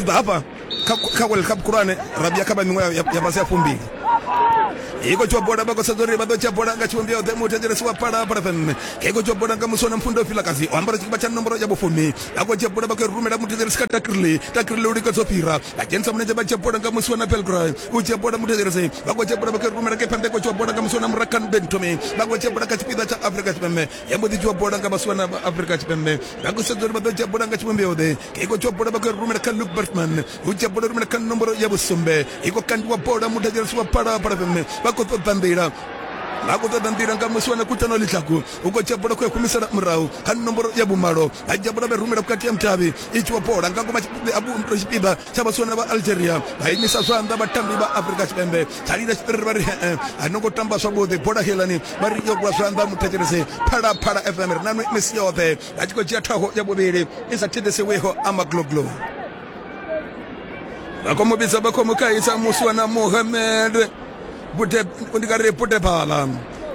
A: ḓa hafha kha World Cup khulwane ra vhuya kha vha miṅwaha ya fhasi ya fumbili. Iko tswa bola vha khou sedza uri vha ḓo dzhia bola nga tshivhumbeo ḓe muthetshelesi wa Phalaphala F M. Iko tswa bola nga muswa na Mfundo Vilakazi o ambara tshikipa tsha nomboro ya vhufumi. Vha khou dzhia bola vha khou rumela muthetshelesi kha Takirli. Takirli u lingedza u fhira. Vha dzhenisa mulenzhe vha dzhia bola nga muswa na Belgrade. U dzhia bola muthetshelesi. Vha khou dzhia bola vha khou rumela ngei phanḓa iko tswa bola nga muswa na Murakan Bentomi. Vha khou dzhia bola kha tshipiḓa tsha Afrika Tshipembe. Ya mbo ḓi dzhiwa bola nga vhaswa na Afrika Tshipembe. Vha khou sedza uri vha ḓo dzhia bola nga tshivhumbeo ḓe. Iko tswa bola vha khou rumela kha Luke Bertman. U dzhia bola rumela kha nomboro ya vhusumbe. Iko kandiwa bola muthetshelesi wa Phalaphala F M. Vha khou ṱoḓa nḓila. Vha khou ṱoḓa nḓila nga musi wana Kutano Ḽitlaku. U khou dzhia bola khou ya humisela murahu kha nomboro ya vhumalo. Vha dzhia bola vha rumela vhukati ha mutavhi. I tshiwa bola nga ngoma tshipiḓa tsha vhasiwana vha Algeria. Vha imisa zwanḓa vhatambi vha Afrika Tshipembe. Tsha lila tshiṱiriri vha ri he a no ngo tamba zwavhuḓi bola helani vha ri yo rwa zwanḓa muthetshelesi. Phalaphala F M ri na nwe misi yoṱhe. Vha tshi khou dzhia thaho ya vhuvhili i sa thithisiwiho Amagloglo. Vha khou mu vhidza vha khou mu khaisa musi wana Mohamed Bude ndi nga ri Budebala.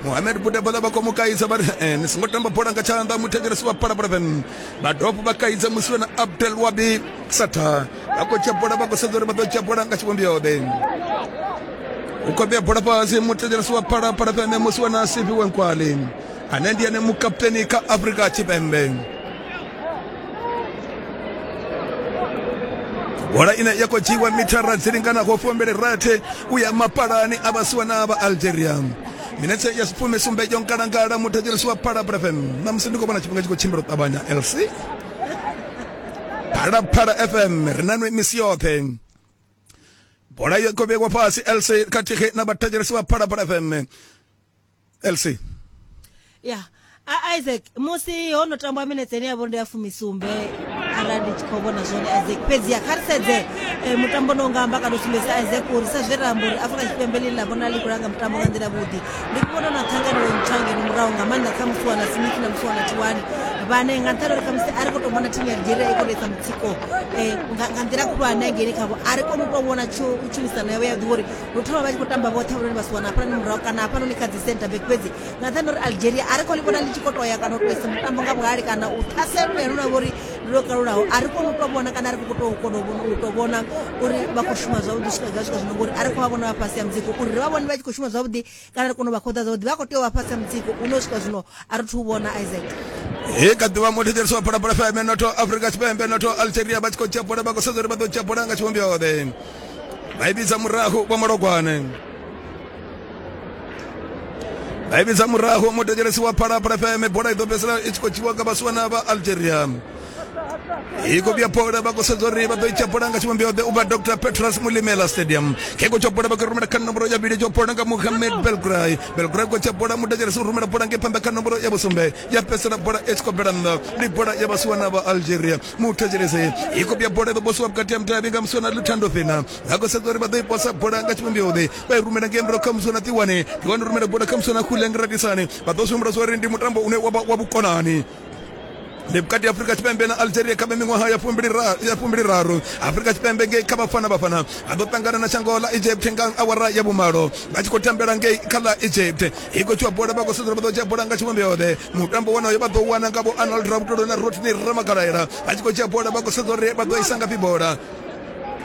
A: Mohamed Budebala vha khou mu kaidza vha ri eh, ni songo tamba bola nga tshanḓa muthetshelesi wa Phalaphala F M. Vha dovha vha kaidza musi wana Abdel Wabi Sata. Vha khou dzhia bola vha khou sedza uri vha ḓo dzhia bola nga tshivhumbeo ḓe. U khou vhea bola fhasi muthetshelesi wa Phalaphala F M musi wana Siviwe Nkwali ane ndi ene mukapteni kha Afrika Tshipembe. Bola ine ya khou dzhiiwa mithara dzi linganaho fumbili rathi u ya mapalani a vhasiwana vha Algeria. Minetse ya fumi sumbe yo ngalangala muthetshelesi wa Phalaphala F M. Ṋamusi ndi khou vhona tshifhinga tshi khou tshimbila u ṱavhanya L C. Phalaphala F M ri na nwe misi yoṱhe. Bola yo khou vheiwa fhasi L C khathihi na vhathetshelesi wa Phalaphala F M. L C.
C: Ya Isaac musi ho no tamba minetse ine ya vho ndi ya fumisumbe arali ndi tshi khou vhona zwone Isaac, fhedzi ya kha ri sedze mutambo no nga amba kana u sumbedzisa Isaac uri sa zwe ra amba uri Afrika Tshipembe ḽi ḽa vhona ḽi khou langa mutambo nga nḓila vhuḓi. Ndi khou vhona na ṱhanganelo ntswa ngeno murahu nga maanḓa kha musi wana Smith na musi wana Tiwani vhane nga nṱhani uri khamusi a ri khou tou vhona thimu ya Algeria i khou tou isa mutsiko nga nḓila khulwane hangeini khavho, a ri koni u tou vhona tshumisano yavho ya ḓivha uri lu thoma vha tshi khou tamba vhoṱhe vhone vha si wana hafhanoni murahu kana hafhanoni kha dzi center back, fhedzi nga nṱhani uri Algeria a ri khou ḽi vhona ḽi tshi khou toya kana u tou isa mutambo nga vhuhali kana u ṱhasela lune lwa vha uri ndi lwo kalulaho, a ri koni u tou vhona kana a ri khou tou kona u tou vhona uri vha khou shuma zwavhuḓi u swika gai swika zwino, ngori a ri khou vha vhona vha fhasi ha mutsiko uri ri vha vhone vha tshi khou shuma zwavhuḓi kana ri kone u vha khoḓa zwavhuḓi, vha khou tea u vha fhasi ha mutsiko une u swika zwino a ri thu vhona Isaac.
A: He kha ḓuvha muthetshelesi wa Phalaphala F M noto Afrika Tshipembe noto Algeria vha tshi khou dzhia bola vha khou sedza uri vha ḓo dzhia bola nga tshivhumbeo ḓe. Vha i vhidza murahu vha Malogwane. Vha i vhidza murahu muthetshelesi wa Phalaphala F M bola i ḓo fhedzisela i tshi khou dzhiwa nga vhasiwana vha Algeria. I khou vhuya bola vha khou sedza uri vha ḓo dzhia bola nga tshivhumbeo ḓe u bva Doctor Petrus Mulimela Stadium. Khe khou dzhia bola vha khou rumela kha nomboro ya vhili, dzhia bola nga Mohamed Belgray. Belgray khou dzhia bola muthetshelesi u rumela bola ngei phanḓa kha nomboro ya vhusumbe ya fhedzisela bola i tshi khou bvela nnḓa. Ndi bola ya vhasiwana vha Algeria. Muthetshelesi i khou vhuya bola i ḓo posiwa vhukati ha mutavhi nga musiwana Luthando Fena. Vha khou sedza uri vha ḓo i posa bola nga tshivhumbeo ḓe vha i rumela ngei murahu kha musiwana Tiwani. Tiwani rumela bola kha musiwana Khuleng Radisani. Vha ḓo zwi humbula zwa uri ndi mutambo une wa vha wa vhukonani. Ndi vhukati ha Afrika Tshipembe na Algeria kha miṅwaha ya fumbili raru. Afrika Tshipembe ngei kha Bafana Bafana vha ḓo ṱangana na shango ḽa Egypt nga awara ya vhumalo vha tshi khou tambela ngei kha ḽa Egypt. I khou tshiwa bola vha khou sedza uri vha ḓo dzhia bola nga tshivhumbeo ḓe. Mutambo wonoyo vha ḓo wana nga vho Arnold Rabutolo na Rodney Ramagalaela. Vha tshi khou dzhia bola vha khou sedza uri vha ḓo isa ngafhi bola.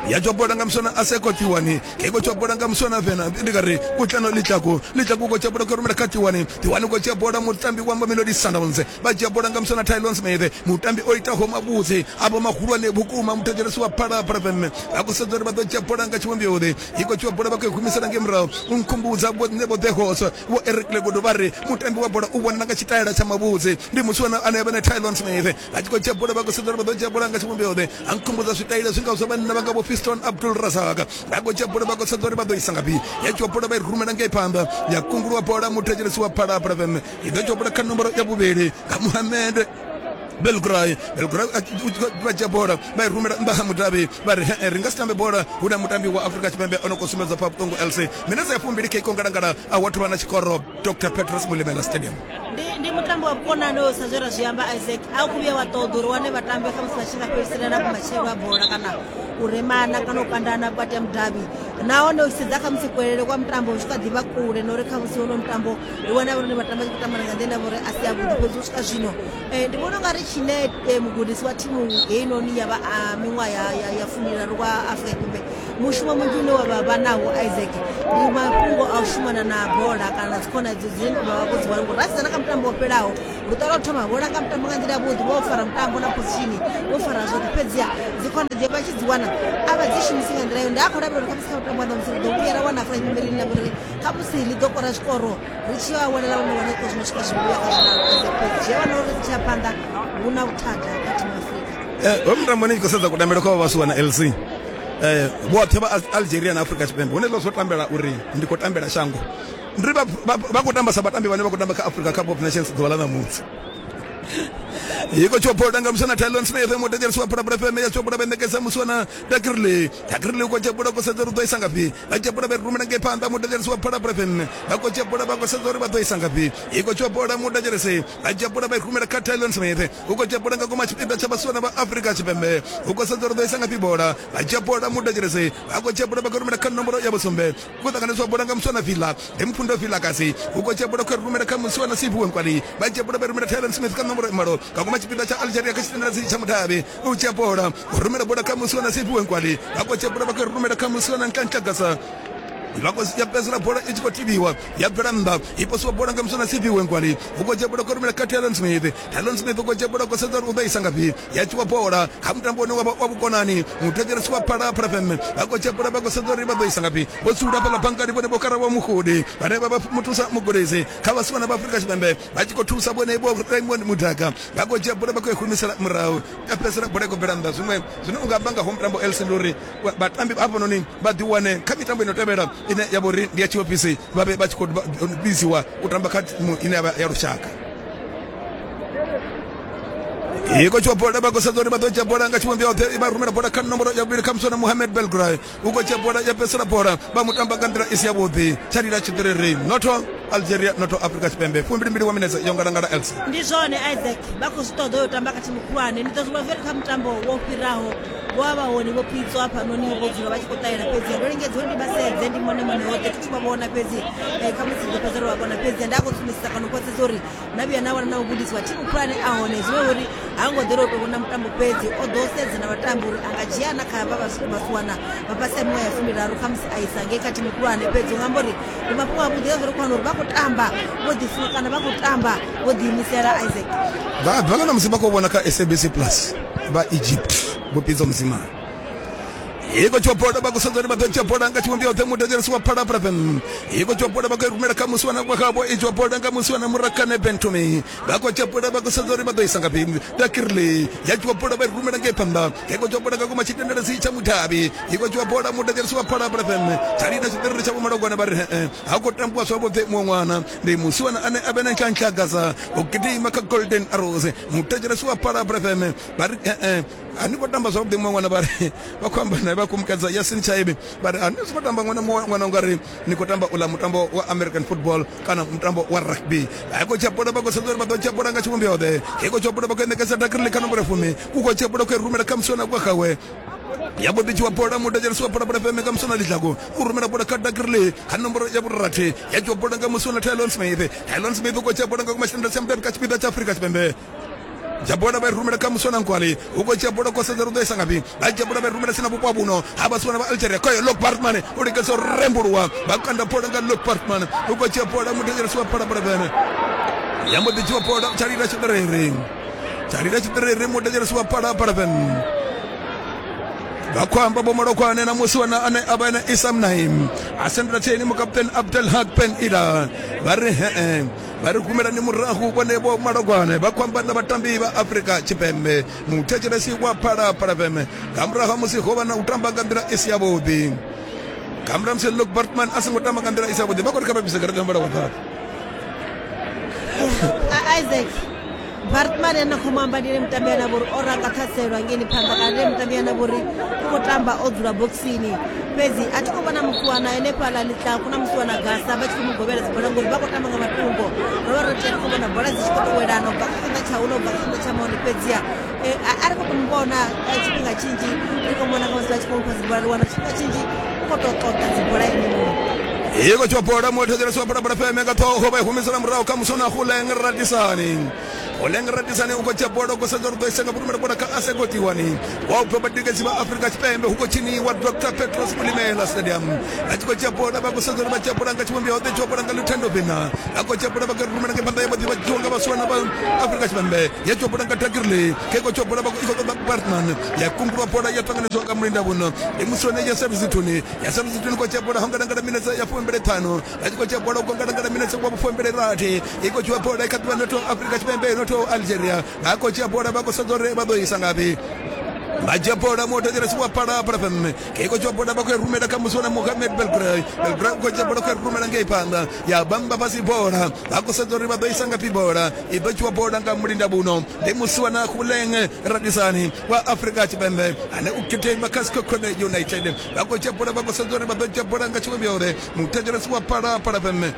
A: Ya dzhia bola nga muswana Aseko Tiwani. Ke khou dzhia bola nga muswana Vena ndi nga ri Kutlano Litlaku. Litlaku khou dzhia bola khou rumela kha Tiwani. Tiwani khou dzhia bola mutambi wa Mamelodi Sundowns. Vha dzhia bola nga muswana Tylon Smith. Mutambi o itaho mavhudzi avho mahulwane vhukuma muthetshelesi wa Phalaphala F M. Vha khou sedza uri vha ḓo dzhia bola nga tshivhumbeo ḓe. I khou dzhia bola vha khou humisela ngei murahu. U nkhumbudza vho Nebo Degos vho Eric Legodo vha ri mutambi wa bola u vhonala nga tshitaela tsha mavhudzi. Ndi muswana ane avha na Tylon Smith. Vha tshi khou dzhia bola vha khou sedza uri vha ḓo dzhia bola nga tshivhumbeo ḓe. A nkhumbudza zwitaela zwi ngaho zwa vhanna vha nga vho Fiston Abdul Razak. Vha khou dzhia bola vha khou sedza uri vha ḓo isa ngafhi. Ya dzhia bola vha i rumela ngei phanḓa ya kungulwa bola muthetshelesi wa Phalaphala F M. I ḓo dzhia bola kha nomboro ya vhuvhili nga Mohamed Belgray. Belgray vha dzhia bola vha i rumela nnḓa ha mudavhi vha ri ri nga si tambe bola hu na mutambi wa Afrika Tshipembe o no khou sumbedza pfa vhuṱungu L C. Minetse ya fumbili kha ikongalangala a wathu vha na tshikoro Doctor Petrus Mulimela Stadium.
C: Ndi ndi mutambo wa vhukonani sa zwe ra zwi amba Isaac, a u khou vhuya wa ṱoḓa uri wane vhatambi khamusi vha tshi nga fhelisela na vhumatshelo ha bola kana u remana kana u kandana vhukati ha mudavhi. Nahone u sedza khamusi kuelele kwa mutambo u tshi kha ḓivha kule na uri khamusi hono mutambo ri wana uri vhatambi vha tshi khou tamba nga nḓila ine uri a si yavhuḓi, fhedzi u swika zwino ndi vhona ungari tshine mugudisi wa thimu heinoni ya vha miṅwaha ya ya fumiraru wa Afrika Tshipembe Mushumo munzhi une wa vha vha nawo Isaac ndi mafhungo a u shumana na bola kana na dzikhona idzo dzine vha vha vho dzi wana, ngori ra sedza na kha mutambo wo fhelaho luṱa lwa u thoma vho langa mutambo nga nḓila yavhuḓi, vho fara mutambo na position, vho fara zwoṱhe, fhedziha dzikhona dzi vha tshi dzi wana a vha dzi shumisi nga nḓila yo. Ndi a khou lavhelela uri khamusi kha mutambo wa ṋamusi ri ḓo vhuya ra wana Afrika Tshipembe ḽine ḽa vha uri khamusi ḽi ḓo kora zwikoro ri tshi ya welela vhone wana zwikoro zwi no swika zwivhuya kha zwiraru Isaac, fhedzi zwi a wana uri ri tshi ya phanḓa hu na vhuthada kha thimu ya Afrika.
A: Ho mutambo ni tshi khou sedza kutambele kwa vhasiwa na L C eh vhoṱhe vha Algeria na Afrika Tshipembe hune zwo tambela uri ndi khou tambela shango, ndi vha vha khou tamba sa vhatambi vhane vha khou tamba kha Africa Cup of Nations ḓuvha ḽa ṋamusi. Iko chopoda nga musana Talon Smith mutejelisi wa Phalaphala F M ya chopoda bendekesa muswana Dakirli Dakirli ko chopoda ko sedza uri ḓo isa ngafhi, vha chopoda vha rumela ngei phanḓa mutejelisi wa Phalaphala F M vha ko chopoda vha ko sedza uri vha ḓo isa ngafhi. Iko chopoda mutejelisi vha chopoda vha rumela kha Talon Smith uko chopoda nga goma tshipiḓa tsha vhasiwana vha Afrika Tshipembe uko sedza uri ḓo isa ngafhi bola, vha chopoda mutejelisi vha ko chopoda vha rumela kha nomboro ya vhusumbe ku ṱanganiswa bola nga muswana Villa ndi Mpfundo Villa kasi uko chopoda kha rumela kha muswana Siphiwe Nkwali vha chopoda vha rumela Talon Smith kha nomboro malo ka goma tshipiḓa tsha Algeria kha tshitendeledzi tsha mudavhi u dzhia bola u rumela bola kha musiwana Siphiwe Nkwali vha khou dzhia bola vha khou rumela kha musiwana Nkantlagasa vha khou ya fhedzisela bola i tshi khou tivhiwa ya bvela nnḓa i posiwa bola nga muswana Siphiwe Nkwali u khou dzhia bola khou rumela kha Talon Smith Talon Smith u khou dzhia bola khou sedza uri u ḓo isa ngafhi ya tshiwa bola kha mutambo une wa wa vhukonani muthetshelesi wa Phalaphala F M vha khou dzhia bola vha khou sedza uri vha ḓo isa ngafhi vho dzula fhaḽa bankani vhone vho Karabo Mugudi vhane vha vha muthusa mugudisi kha vhasiwana vha Afrika Tshipembe vha tshi khou thusa vhone vho Raymond Mudaka vha khou dzhia bola vha khou i humisela murahu ya fhedzisela bola i khou bvela nnḓa. Zwiṅwe zwine unga amba nga ho mutambo L C ndi uri vhatambi hafhanoni vha ḓiwane kha mitambo ino tevhela ine ya vhori ndi ya tshiofisi vha vhe vha tshi khou biziwa u tamba kha thimu ine ya vha ya lushaka. Iko tshiwa bola vha khou sedza uri vha ḓo dzhia bola nga tshivhumbeo yoṱhe vha rumela bola kha nomboro ya vhuvhili kha muswana Mohamed Belgray u khou dzhia bola ya fhedzisela bola vha mu tamba nga nḓila i si yavhuḓi tsha lila tshiṱiriri noto Algeria noto Afrika Tshipembe fumbilimbili wa minetse yo ngalangala L C.
C: Ndi zwone Isaac vha khou zwi ṱoḓa yo tamba kha thimu khulwane. Ndi ḓo zwi vha kha mutambo wo fhiraho vho vha hone vho Pitso hafhanoni vho dzula vha tshi khou ṱahela, fhedzi ndo lingedza uri ndi vha sedze ndi mone mone hoṱhe thi vha vhona, fhedzi khamusi ndo fhedza ro vha vhona, fhedzi nda khou sumbedzisa kana u khwaṱhisa uri na vhuya na wana na mugudisi wa thimu khulwane a hone zwine uri ha ngo ḓela u tou vhona mutambo fhedzi o ḓo sedza na vhatambi uri a nga dzhia na kha vha vhasiwana vha fhasi ha miṅwaha ya fumiraru khamusi a isa ngei kha thimu khulwane. Fhedzi u nga amba uri ndi mafhungo avhuḓi a zwo ri khou wana uri vha khou tamba vho ḓifunga kana vha khou tamba vho ḓiimisela Isaac.
A: Vha bva nga musi vha khou vhona kha S A B C Plus vha Egypt vho Pitso Mosimane. Iko tshiwa bola vha khou sedza uri vha ḓo dzhia bola nga tshivhumbeo yoṱhe muthetshelesi wa Phalaphala F M iko tshiwa bola vha khou rumela kha musiwana wa khavho i tshiwa bola nga musiwana Murakane Bentumi vha khou dzhia bola vha khou sedza uri vha ḓo isa ngafhi Dakirli ya tshiwa bola vha i rumela ngei phanḓa iko tshiwa bola nga kuma tshitendeledzi tsha mudavhi iko tshiwa bola muthetshelesi wa Phalaphala F M tsha lila tshiṱiriri tsha vhomalogwana vha ri ha khou tambiwa zwavhuḓi muṅwe ṅwana ndi musiwana ane a vhe na Ntlhantlhagasa u gidima kha Golden Arrows muthetshelesi wa Phalaphala F M vha ri a ni khou tamba zwavhuḓi muṅwe ṅwana vha ri vha khou amba naye vha khou Yasin Chaibi vha ri a ni khou tamba ṅwana ṅwana u nga ri ni khou tamba uḽa mutambo wa American football kana mutambo wa rugby. A khou dzhia bola vha khou sedza uri vha ḓo dzhia bola nga tshivhumbeo ḓe i khou dzhia bola vha khou ṋekedza Dakirli kha nomboro fumi u khou dzhia bola khou rumela kha musiwana kwa khawe ya mbo ḓi dzhiwa bola muthetshelesi wa Phalaphala F M nga muswana Lidlaku u rumela bola kha Dakirli kha nomboro ya vhurathi ya dzhiwa bola nga musiwana Tylon Smith Tylon Smith u khou dzhia bola nga kuma tshitendele tsha mudavhi kha tshipiḓa tsha Afrika Tshipembe dzhia bola vha i rumela kha muswana Nkwali u khou dzhia bola khou sedza uri u ḓo isa ngafhi vha dzhia bola vha i rumela sina vhupo ha vhuno ha vhasiwana vha Algeria khoyo Lok Bartman u lingedza u rembuluwa vha kanda bola nga Lok Bartman u khou dzhia bola muthetshelesi wa Phalaphala F M ya mbo ḓi dzhiwa bola tsha lila tshiṱiriri tsha lila tshiṱiriri muthetshelesi wa Phalaphala F M vha khou amba vho Malokwane na musiwana ane a vha ene Isam Naim a sendela tseni mukaputeni Abdel Haq Ben Ila vha ri he vha ri humelani murahu vhone vho Malokwane vha khou amba na vhatambi vha Afrika Tshipembe muthetshelesi wa Phalaphala F M nga murahu ha musi ho vha na u tamba nga nḓila i si yavhuḓi nga murahu ha musi Luke Bartman a songo tamba nga nḓila i si yavhuḓi vha khou ri kha vha bvise garaṱa ya muvhala wa ṱaḓa.
C: Isaac Bartman ane khou mu amba ndi ene mutambi ane a vha uri o ranga ṱhaselwa ngeni phanḓa kana ndi ene mutambi ane a vha uri u khou tamba o dzula boxini, fhedzi a thi khou vhona musiwana henefhaḽa Ḽitlaku na musiwana Gasa vha tshi khou mu govhela dzibola ngori vha khou tamba nga matungo. Ro vha ro tea ri khou vhona bola dzi tshi khou tou welana u bva kha tshanḓa tsha uḽa u bva kha tshanḓa tsha maone, fhedziha a ri khou tou mu vhona tshifhinga tshinzhi ri khou mona nga musi vha tshi khou mufha dzibola ri wana tshifhinga tshinzhi u khou tou ṱoḓa dzibola ene muṋe.
A: Iko tshiwa bola muthetshelesi wa Phalaphala F M nga ṱhoho vha i humisela murahu kha muswana Huleng Radisani Oleng Radisane u khou dzhia bola u khou sedza uri ḓo isa nga vhurumela bola kha Asego Tiwani wa u bva vhatikedzi vha Afrika Tshipembe hu khou tshiniwa Doctor Petros Molemela Stadium. A tshi khou dzhia bola vha khou sedza uri vha dzhia bola nga tshivhumbeo ḓe dzhia bola nga Luthando Bina. A khou dzhia bola vha khou rumela nga phanḓa ya vhaḓi vha dzhiwa nga vhaswana vha Afrika Tshipembe. Ya dzhia bola nga Takirli ke khou dzhia bola vha khou ṱoḓa Bartman ya kungulwa bola ya ṱanganedzwa nga mulinda vhuno ndi muswane ya Service Thuni ya Service Thuni khou dzhia bola ho ngalangala minetse ya fumbili ṱhanu a tshi khou dzhia bola u ngalangala minetse wa fumbili rathi i khou dzhia bola kha ḓivha noto Afrika Tshipembe noto Algeria vha khou dzhia bola vha khou sedza uri vha ḓo isa ngafhi. Vha dzhia bola muthetshelesi wa Phalaphala F M ke khou dzhia bola vha khou rumela kha muswana Mohamed Belgrade Belgrade khou dzhia bola khou rumela ngei phanḓa ya bamba fhasi bola vha khou sedza uri vha ḓo isa ngafhi bola i ḓo dzhiwa bola nga mulinda vhuno ndi musiwana Khuleng Radisani wa Afrika Tshipembe ane u gidima kha Sekhukhune United. Vha khou dzhia bola vha khou sedza uri vha ḓo dzhia bola nga tshivhumbeo muthetshelesi wa Phalaphala F M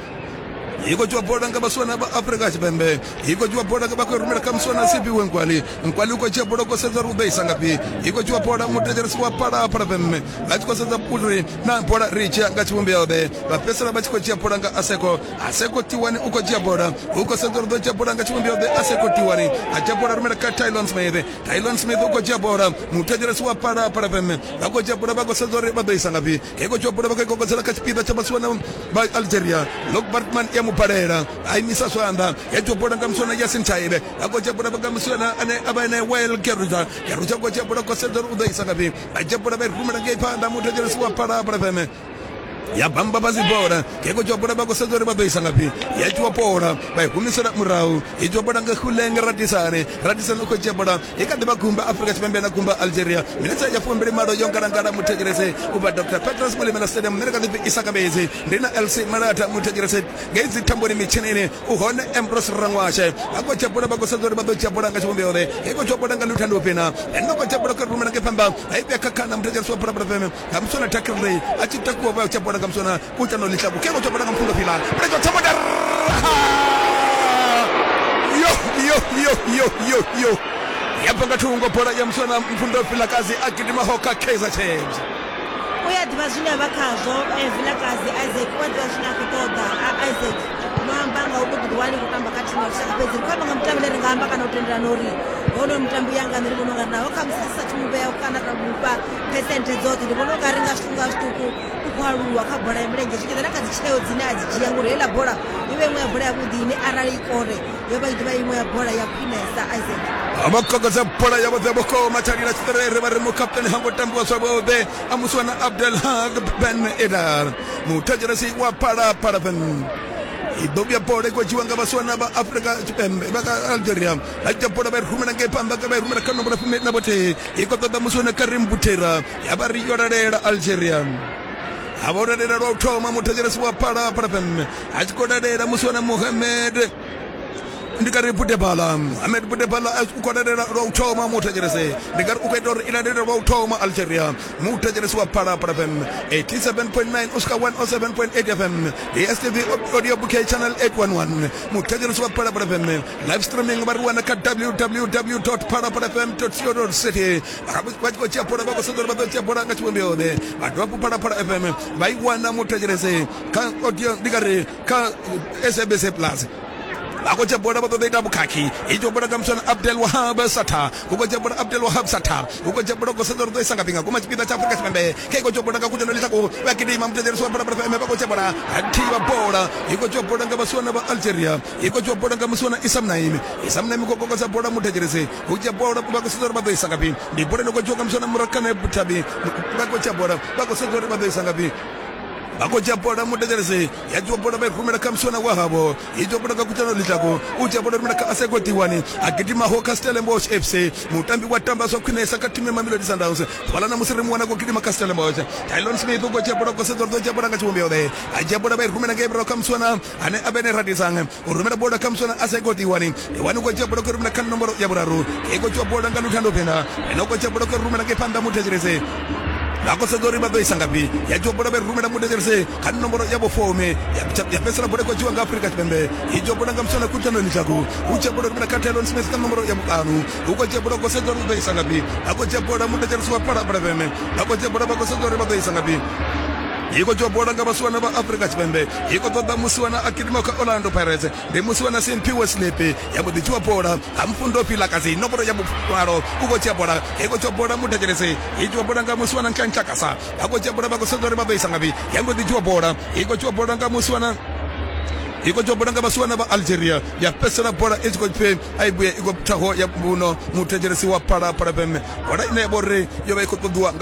A: i khou dzhiwa bola nga vhaswana vha Afrika Tshipembe i khou dzhiwa bola vha khou rumela kha muswana Siphiwe Nkwali Nkwali u khou dzhia bola u khou sedza uri u ḓo isa ngafhi i khou dzhiwa bola muthetshelesi wa Phalaphala F M vha tshi khou sedza uri na bola ri dzhia nga tshivhumbeo ḓe vha fhedzisela vha tshi khou dzhia bola nga Aseko Aseko Tiwani u khou dzhia bola u khou sedza uri ḓo dzhia bola nga tshivhumbeo ḓe Aseko Tiwani a dzhia bola rumela kha Tylon Smith Tylon Smith u khou dzhia bola muthetshelesi wa Phalaphala F M vha khou dzhia bola vha khou sedza uri vha ḓo isa ngafhi i khou dzhia bola vha khou kokodzela kha tshipiḓa tsha vhaswana vha Algeria Lok Bartman ya mubalela a imisa zwanḓa ya dzhia bola nga muswana Yasin Taibe a khou dzhia bola nga muswana ane a vha ene Well Geruja Geruja khou dzhia bola khou sedza uri u ḓo isa ngafhi a dzhia bola vha i rumela ngei phanḓa muthetshelesi wa Phalaphala F M ya bamba fhasi bola ke khou dzhia bola vha khou sedza uri vha ḓo isa ngafhi ya dzhiwa bola vha i humisela murahu i dzhiwa bola nga Khuleng Radisane Radisane u khou dzhia bola i kha ḓi vha gumba Afrika Tshipembe na gumba Algeria minetse ya fumbili malo yo ngalangala muthetshelesi u bva Doctor Petros Molemela Stadium nṋe kha ḓi isa kambedzi ndi na L C Malata muthetshelesi ngei dzi thamboni mitshinini u hone Ambrose Rangwashe vha khou dzhia bola vha khou sedza uri vha ḓo dzhia bola nga tshivhumbeo ḓe i khou dzhia bola nga Luthando Pina ene khou dzhia bola khou rumela ngei phanḓa a i vhea kha khana muthetshelesi wa Phalaphala F M nga muswana Takirley a tshi takuwa vha dzhia bola nga muswana kutano lihlabu ke go bola nga mfundo fila prejo tshamoda yo yo yo yo yo yo ya banga thungo bola ya muswana mfundo fila kazi a gidima hoka Kaizer Chiefs
C: u ya ḓivha zwine vha khazwo Vilakazi Isaac u a ḓivha zwine a khou ṱoḓa Isaac no amba nga u ḓiwani khou tamba kha thimu ya lushaka fhedzi ri khou amba nga mutambi ane ri nga amba kana u tendelana uri hono mutambi ya nga nṋe ndi vhona ungari naho khamusi ri sa thi muvhea kana ra mufha phesenthe dzoṱhe ndi vhona ungari nga zwiṱuku nga zwiṱuku u khou aluwa kha bola ya milenzhe zwi tshi ḓa na kha dzi tsheo dzine a dzi dzhia ngori heiḽa bola i vha iṅwe ya bola yavhuḓi ine arali i kore yo vha i ḓo vha iṅwe ya bola ya khwinesa Isaac.
A: Vha kokodza bola ya vhoṱhe vhukuma tshalila tshiṱerere vha ri mukapteni ha ngo tambiwa zwavhuḓi a muswana Abdelhak Ben Edar muthetshelesi wa Phalaphala F M i ḓo vhuya bola i khou dzhiwa nga vhaswana vha Afrika Tshipembe vha ka Algeria vha dzhia bola vha i rumela ngei phanḓa vha i rumela kha nomboro fumi na vhuthihi i khou ṱoḓa muswana Karim Butera ya vha ri yo lalela Algeria ha vha u lalela lwa u thoma muthetshelesi wa Phalaphala F M a tshi khou lalela muswana Mohamed ndi kari Budebala Ahmed Budebala u khou lalela lwa u thoma muthetshelesi ndi kari u khou ita uri i lalele lwa u thoma Algeria muthetshelesi wa Phalaphala F M eighty-seven point nine u swika one oh seven point eight F M D S T V audio bouquet channel eight one one muthetshelesi wa Phalaphala F M live streaming vha ri wana kha w w w dot phalaphala f m dot co dot za vha tshi khou dzhia bola vha khou sedza uri vha ḓo dzhia bola nga tshivhumbeo ḓe vha dovha hafhu Phalaphala F M vha i wana muthetshelesi kha audio ndi kari kha S A B C Plus vha khou dzhia bola vha ṱoḓa ita vhukhakhi i dzhia bola nga muswana Abdel Wahab Satha u khou dzhia bola Abdel Wahab Satha u khou dzhia bola khou sedza uri ḓo isa ngafhi nga guma tshipiḓa tsha Afrika Tshipembe khe khou dzhia bola nga kutano ḽiṱaku vha gidima muthetshelesi wa Phalaphala F M vha khou dzhia bola thivha bola i khou dzhia bola nga vhaswana vha Algeria i khou dzhia bola nga muswana Issam Naim Issam Naim khou kokodza bola muthetshelesi u dzhia bola vha khou sedza uri vha ḓo isa ngafhi ndi bola ino khou dzhiwa nga muswana Murakane Butabi vha khou dzhia bola vha khou sedza uri vha ḓo isa ngafhi vha khou dzhia bola muthetshelesi ya dzhia bola vha i rumela kha muswana wa havho i dzhia bola nga kutano ḽiṱaku u dzhia bola rumela kha Asego Tiwani a gidimaho kha Stellenbosch F C mutambi wa tamba zwa khwinesa kha thimu ya Mamelodi Sundowns ḓuvha ḽa ṋamusi ri mu wana khou gidima kha Stellenbosch Tylon Smith u khou dzhia bola khou sedza uri ḓo dzhia bola nga tshivhumbeo ḓe a dzhia bola vha i rumela ngei murahu kha muswana ane a vha ene Radisang u rumela bola kha muswana Asego Tiwani Tiwani u khou dzhia bola khou rumela kha nomboro ya vhuraru i khou dzhia bola nga Luthando Pena ene u khou dzhia bola khou rumela ngei phanḓa muthetshelesi vha khou sedza uri vha ḓo isa ngafhi ya dzhia bola vha i rumela muthetshelesi kha nomboro ya vhufumi ya fhedzisela bola i khou dzhiwa nga Afrika Tshipembe i dzhia bola nga muswana Kutano Lihlaku u dzhia bola rumela kha Tylon Smith kha nomboro ya vhuṱanu u khou dzhia bola khou sedza uri u ḓo isa ngafhi vha khou dzhia bola muthetshelesi wa Phalaphala F M vha khou dzhia bola vha khou sedza uri vha ḓo isa ngafhi I khou dzhiwa bola nga vhasiwana vha Afrika Tshipembe, i khou ṱoḓa musiwana a gidima kha Orlando Pirates, ndi musiwana Simphiwe Slepe. Ya mbo ḓi dzhiwa bola ha Mfundo Vilakazi, nomboro ya vhumalo u khou dzhia bola, i khou dzhiwa bola muthetshelesi, i dzhiwa bola nga musiwana Nhlanhla. Vha khou dzhia bola, vha khou sedza uri vha ḓo isa ngafhi. Ya mbo ḓi dzhiwa bola, i khou dzhiwa bola nga musiwana, i khou dzhiwa bola nga vhasiwana vha Algeria. Ya fhedzisela bola i tshi khou pfi a i vhuye, i khou thaho ya mbuno muthetshelesi wa Phalaphala F M, bola ine ya vha uri yo vha i khou ṱoḓiwa nga